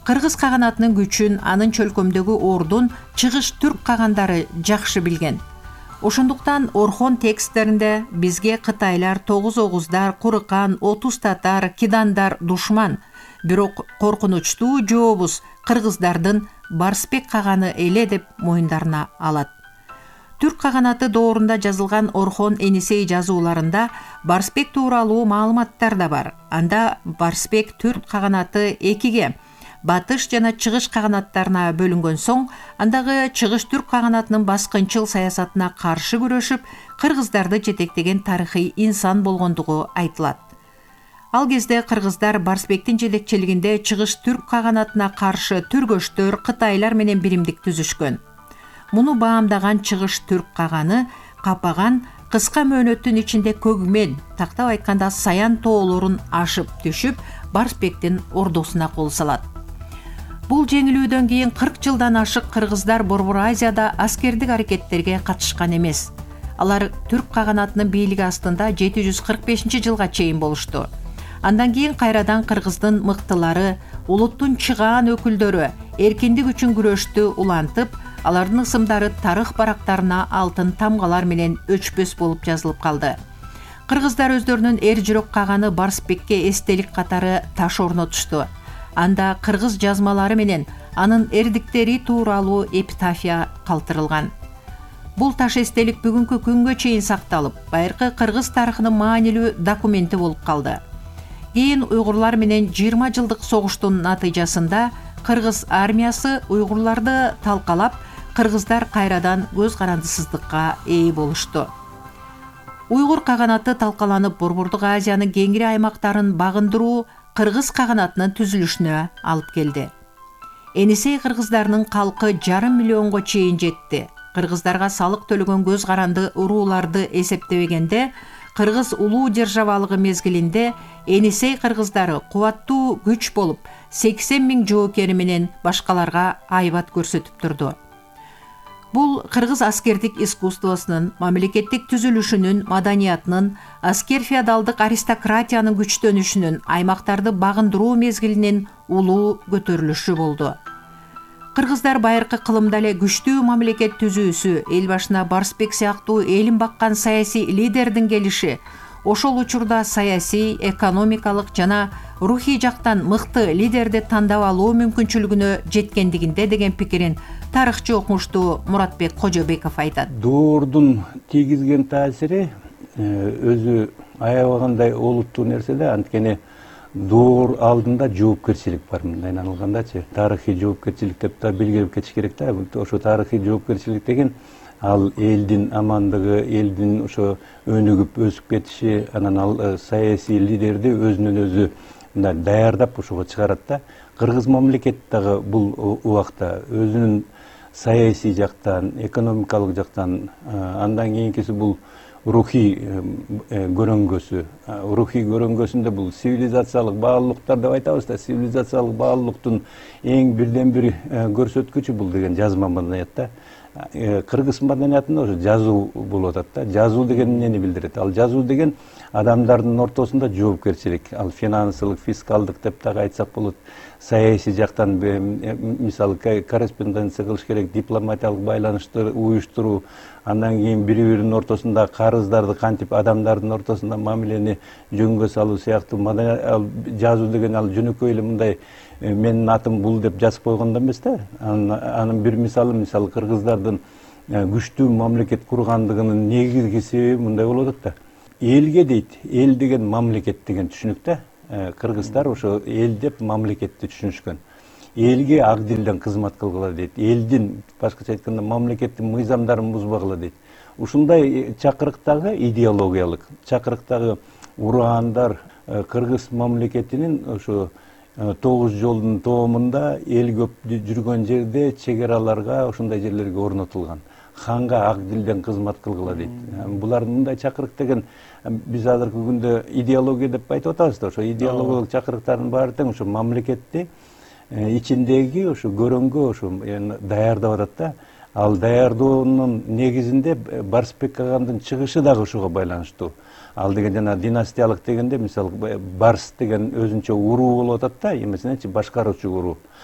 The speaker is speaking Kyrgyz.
Кыргыз каганатынын күчүн, анын чөлкөмдөгү ордун чыгыш түрк кагандары жакшы билген. Ошондуктан Орхон тексттеринде бизге кытайлар 9 огуздар, Курыкан, 30 татар, кидандар душман, бирок коркунучтуу жообуз кыргыздардын Барсбек каганы эле деп моюндарына алат. Түрк каганаты доорунда жазылган Орхон Энисей жазууларында Барсбек тууралуу маалыматтар да бар. Анда Барсбек Түрк каганаты экиге, батыш жана чыгыш каганаттарына бөлүнгөн соң, андагы чыгыш түрк каганатынын баскынчыл саясатына каршы күрөшүп, кыргыздарды жетектеген тарыхый инсан болгондугу айтылат. Ал кезде кыргыздар Барсбектин жетекчилигинде чыгыш түрк каганатына каршы түргөчтөр, кытайлар менен биримдик түзүшкөн. Муну баамдаган чыгыш түрк каганы капаган кыска мөөнөттүн ичинде Көгмен, тактап айтканда Саян тоолорун ашып түшүп, Барсбектин ордосуна кол салат. Бул жеңилүүдөн кийин 40 жылдан ашык кыргыздар Борбор Азияда аскердик аракеттерге катышкан эмес. Алар түрк каганатынын бийлиги астында 745-жылга чейин болушту. Андан кийин кайрадан кыргыздын мыктылары, улуттун чыгаан өкүлдөрү эркиндик үчүн күрөштү улантып, алардын ысымдары тарых барактарына алтын тамгалар менен өчпөс болуп жазылып калды. Кыргыздар өздөрүнүн эр жүрөк каганы Барсбекке эстелик катары таш орнотушту. Анда кыргыз жазмалары менен анын эрдиктери тууралуу эпитафия калтырылган. Бул таш эстелик бүгүнкү күнгө чейин сакталып, байыркы кыргыз тарыхынын маанилүү документи болуп калды. Кийин уйгурлар менен 20 жылдык согуштун натыйжасында кыргыз армиясы уйгурларды талкалап, кыргыздар кайрадан көз карандысыздыкка ээ болушту. Уйгур каганаты талкаланып, Борбордук Азиянын кеңири аймактарын багындыруу кыргыз каганатынын түзүлүшүнө алып келди. Энисей кыргыздарынын калкы 500 миллионго чейин жетти. Кыргыздарга салык төлөгөн көз каранды урууларды эсептебегенде, кыргыз улуу державалыгы мезгилинде Энисей кыргыздары кубаттуу күч болуп, 80 000 жоокери менен башкаларга айбат көрсөтүп турду. Бул кыргыз аскердик искусствосунун, мамлекеттик түзүлүшүнүн, маданиятынын, аскер феодалдык аристократиянын күчтөнүшүнүн, аймактарды багындыруу мезгилинин улуу көтөрүлүшү болду. Кыргыздар байыркы кылымда эле күчтүү мамлекет түзүүсү, эл башына Барсбек сыяктуу элин баккан саясий лидердин келиши, ошол учурда саясий, экономикалык жана рухий жактан мыкты лидерди тандап алуу мүмкүнчүлүгүнө жеткендигинде деген пикирин тарыхчы окумуштуу Муратбек Кожобеков айтат. Доордун тийгизген таасири өзү аябагандай олуттуу нерсе да, анткени доор алдында жоопкерчилик бар, мындай алгандачы. Тарыхый жоопкерчилик деп да белгилеп кетиш керек да. Ошо тарыхый жоопкерчилик деген ал элдин амандыгы, элдин ошо өнүгүп өсүп кетиши, анан ал саясий лидерди өзүнөн өзү мындай даярдап ошого чыгарат да. Кыргыз мамлекети дагы бул убакта өзүнүн саясий жактан, экономикалык жактан, андан кийинкиси бул рухий көрөңгөсү. Рухий көрөңгөсүндө бул цивилизациялык баалуулуктар деп айтабыз да. Цивилизациялык баалуулуктун эң бирден бир көрсөткүчү бул деген жазма маданият да. Кыргыз маданиятында ошо жазуу болуп атат да. Жазуу деген эмнени билдирет? Ал жазуу деген адамдардын ортосунда жоопкерчилик, ал финансылык, фискалдык деп дагы айтсак болот. Саясий жактан мисалы корреспонденция кылыш керек, дипломатиялык байланыштар уюштуруу, андан кийин бири-биринин ортосунда карыздарды кантип адамдардын ортосунда мамилени жөнгө салуу сыяктуу жазуу деген ал жөнөкөй эле мындай менин атым бул деп жазып койгондо эмес да. Анын бир мисалы кыргыздардын күчтүү мамлекет кургандыгынын негизги себеби мындай болуп атат да. Элге дейт, эл деген мамлекет деген түшүнүктө. Кыргыздар ошо эл деп мамлекетти түшүнүшкөн. Элге ак дилден кызмат кылгыла дейт. Элдин, башкача айтканда, мамлекеттин мыйзамдарын бузбагыла дейт. Ушундай чакырыктагы идеологиялык, чакырыктагы ураандар кыргыз мамлекетинин ошо 9 жолдун тоомунда эл көп жүргөн жерде чек-араларга ошондой жерлерге орнотулган. Ханга ак дилден кызмат кылгыла дейт. Булардын мындай чакырык деген биз азыркы күндө идеология деп айтып атабыз да. Ошо идеологиялык чакырыктардын баары тең ошо мамлекетти ичиндеги ошо көрөңгө ошо даярдап атат да. Ал даярдоонун негизинде Барсбек кагандын чыгышы дагы ошого байланыштуу. Ал деген жана династиялык дегенде мисалы Барс деген өзүнчө уруу болуп атат да, эмесинечи башкаруучу уруу.